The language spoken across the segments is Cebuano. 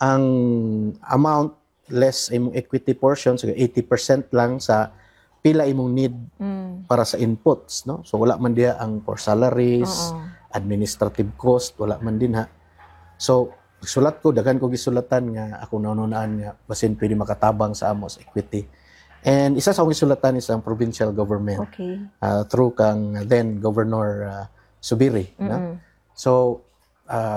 Ang amount less imong equity portion, so 80% lang sa pila imong need para sa inputs, no? So wala man diha ang for salaries, administrative cost, wala man din ha. So sulat ko, daghan ko gisulatan nga ako naununaan nga basin pwede makatabang sa amo sa equity. And isa sa akong gisulatan is ang provincial government through kang then Governor Zubiri, no? So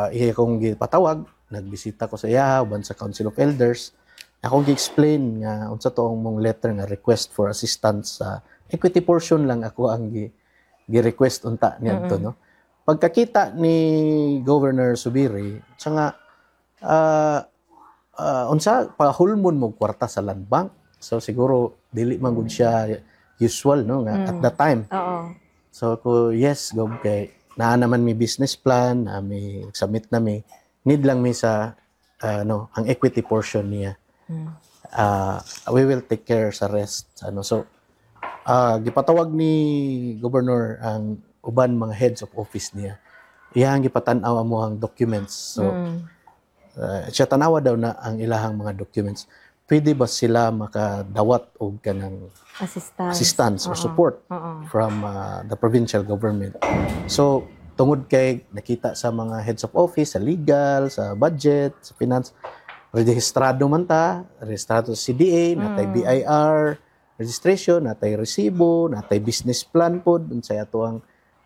iya kong gipatawag, nagbisita ko sa iya uban sa Council of Elders. Akong gi-explain nga unsa to ang mong letter nga request for assistance sa equity portion lang ako ang gi gi-request unta niadto, no. Pagkakita ni Governor Zubiri, siya nga unsa pahulmon mo kwarta sa land bank. So siguro dili man gud siya usual, no, nga at that time. So ko, "Yes, Gob, kay naa naman may business plan, na may submit na mi, need lang mi sa ano, ang equity portion niya. We will take care sa rest," ano. So gipatawag ni Governor ang uban mga heads of office niya. Iyang gipatan-aw amo ang documents. So siya tanawa daw na ang ilahang mga documents. Pwede ba sila makadawat og kanang Assistance. Assistance or support from the provincial government? So, tungod kay nakita sa mga heads of office, sa legal, sa budget, sa finance, rehistrado man ta, rehistrado sa CDA, natay BIR registration, natay resibo, natay business plan pod, unsay ato ang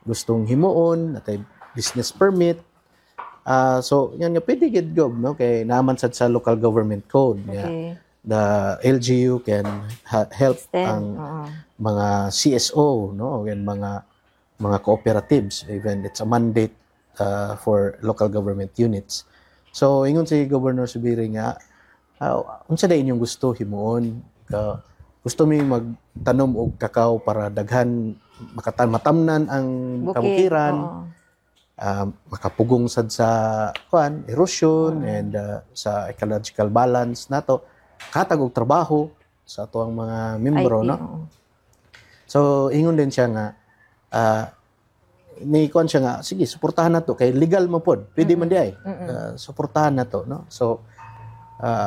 gustong himuon, natay business permit. So, yan nga pwede gid, Gob, no? Kay naman sad sa local government code nga the LGU can help Extend. ang mga CSO, no, and mga cooperatives. Even it's a mandate for local government units. So ingon si Governor Zubiri nga, "Unsa day inyong gusto himuon ka? Gusto mi magtanom og kakao para daghan makatan matamnan ang Bukid. kabukiran, makapugong sad sa kuan, erosion and sa ecological balance nato, katag og trabaho sa ato ang mga membro," IT, no. So ingon din siya nga ni kuan siya nga, "Sige, suportahan nato kay legal mo pod, pwede man di ay. Suportahan nato," no. So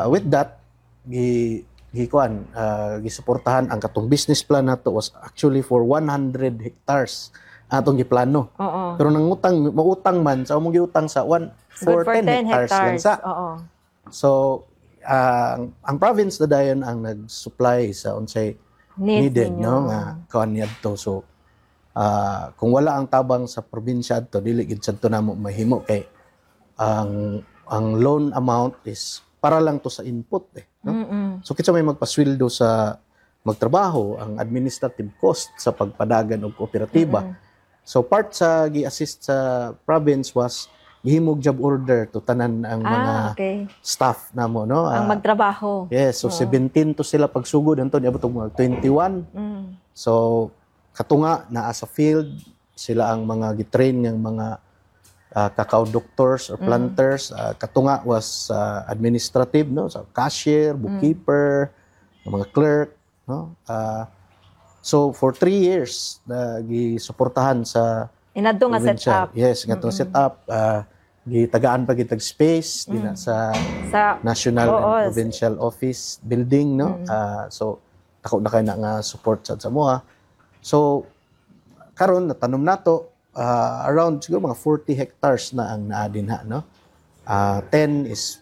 with that gi gi kuan gisuportahan ang katong business plan nato. Was actually for 100 hectares atong giplano. Pero nangutang, mautang man sa among giutang sa 1 Good for for 10 10 hectares lang hectares. sa. So ang province na dayon ang nag-supply sa unsay Needs needed, ninyo. No, nga kuan niadto. So kung wala ang tabang sa probinsya adto, dili gid sad to namo mahimo kay ang loan amount is para lang to sa input eh, no? So kinsa may magpasweldo sa magtrabaho, ang administrative cost sa pagpadagan og kooperatiba? So part sa gi-assist sa province was gihimog job order to tanan ang mga staff namo, no. Ang magtrabaho. Yes, so 17 to sila pagsugod anto niabot og mga 21. So katunga naa sa field, sila ang mga gitrain ng mga cacao doctors or planters. Katunga was administrative, no, so cashier, bookkeeper, ang mga clerk, no. So for 3 years na gisuportahan sa Inadto nga set probinsya. Up. Yes, nga set up, gitagaan pa gitag space dinha sa Sa national and provincial office building, no. So dako na kay na nga support sa amoa. So karon natanom nato, around siguro mga 40 hectares na ang naa dinha, no. 10 is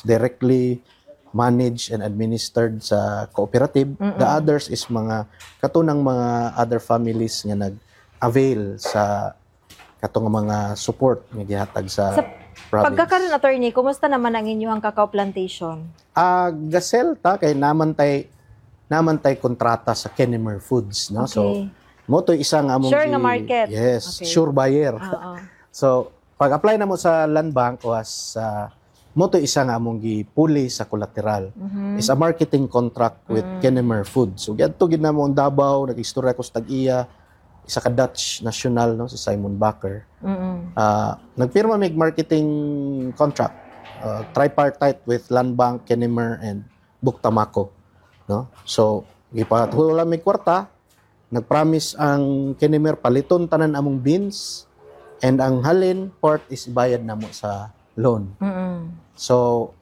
directly managed and administered sa cooperative. The others is mga katunang mga other families nga nag-avail sa katong mga support nga gihatag sa Sa province. Pagkakaroon, attorney, kumusta naman ang inyong cacao plantation? Ga-sell ta kay naman tay kontrata sa Kennemer Foods, no. So mo to isa nga among Sure nga market. Yes, sure buyer. So pag-apply na mo sa land bank was mo to isa nga among gipuli sa collateral. Is a marketing contract with Kennemer Foods. So giadto gid namo ang Davao, nag-istorya ko sa tag-iya, isa ka Dutch national, no, si Simon Bakker. Nagpirma mig marketing contract, tripartite with Land Bank, Kennemer and Buctamaco, no? So gipatulo mig kwarta, nagpromise ang Kennemer paliton tanan among beans and ang halin part is ibayad namo sa loan. So